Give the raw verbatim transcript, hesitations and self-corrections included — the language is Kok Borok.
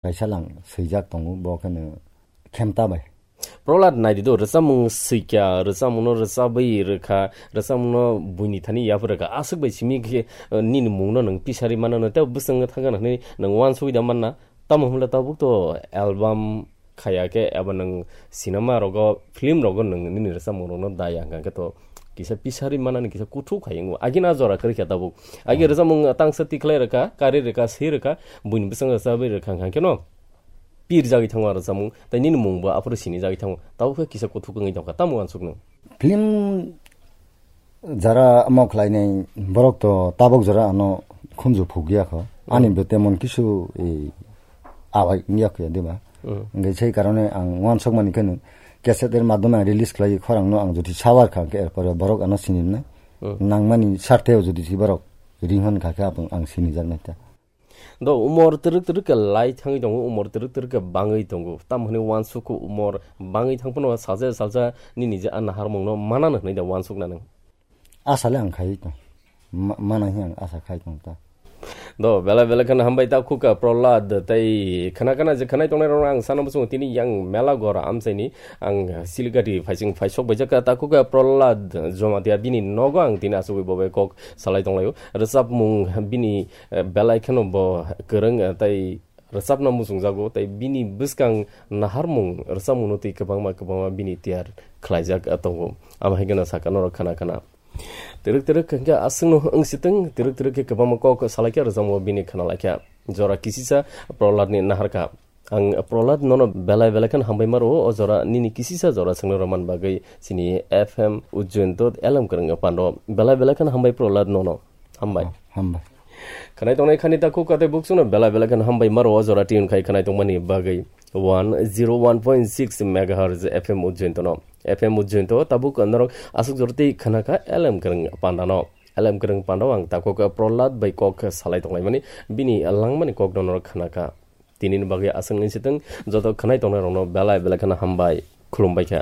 kaisa lang swijak tongo, bo kheno Khemta bai. Prohlad, naidi do, rwchapmung swikha, rwchapmungno rwchabwi rwkha, rwchapmungno buini thani yapharwi rwkha, aswk bai simi khe, eh, nini mungno nwng pisari mano, tei bwskango thangkha hwnwi nwng uansugwi da manna? Tamo hwnle tabuk to album khaya khe eba nwng cinema rogo, film rogo nwng nini rwchapmung rokno daya hwnkha khe to kisa pisari manani kisa kuthuk hai wngo. Agini a jora kwrwi kha tabuk. Agi rwchapmung tangsa tikhlai rwkha, kari rwkha, swi rwkha, buini bwskango rwchabwi rwkha hwnkha khe no pir jagwi thango a rwchapmung, tei nini mungbo aphuru sinijagwi thango. Tabuk khe kisa kuthuk wngwi tongkha, tamo uansukno? Film jara omo khlainai borok to tabuk jora ano khunju phukya kho. Ani bo temon kisu, eh, awai wngya kho diba. Hwnkhe sei karone ang uansukmani kheno cassette er madhyome ang release khlai khorangno ang jodi sawar kha khe, erpore borok ano sinimnai. Nangmani sartheo jodi si borok ring hwn kha khe, aboni ang sinijaknai ta. Do umor twrwk twrwk khe lai thangwi tongo, umor twrwk twrwk khe bangwi tongo. Tamo hwnwi uansukgo umor bangwi thang phano salsa salsa nini je a naharmungno manano hwnwi da uansukna nwng? Asale ang khai tong. Ma-, mana hi ang asa khai tong ta. Do, belai belai kheno hambai ta khukha Prohlad, tei khana khana je khanai tongnai rokno ang sana muchungo tini yang mela gora amchaini ang Siligati phaising phaisok baijak kha ta khukha Prohlad Jamatia bini nogo ang tini asugwi bobai kok salai tonglaio. Rwchapmung bini, eh, belai kheno bo kwrwng, eh, tei rwchapna muchungjago, tei bini bwskang naharmung rwchapmungno twi kwbangma kwbangma bini tiyar khlaijak, eh, tongo. Amo hai kheno sakha norok khana khana. Twrwk twrwk hwnkhe aswkno wng sitwng, twrwk twrwk khe kwbangma kok salaikha rwchapmungo bini khna laikha. Jora kisisa Prohladni naharkha. Ang Prohlad nono belai belai kheno hambai ma rwo, o jora nini kisisa jora swngna rwman bagwi chini F M Ujjain to Elem Kwrwng pando. Belai belai kheno hambai Prohlad nono. Hambai. Oh, hambai. Khwnai tongnai khani ta khuk katai buksukno belai belai kheno hambai ma rwo, o jora tune khai khwnai tongmani bagwi one zero one point six megahertz F M Ujjain tono. F M Ujjain to tabuk norok aswk jora tei khna kha Elem Kwrwng pandano. Elem Kwrwng pando ang takhuk Prohlad bai kok salai tonglaimani, bini langmani kokno norok khna kha. Tinini bagwi aswk wng sitwng, joto khwnai tongnai rokno belai belai kheno hambai, khulumbai kha.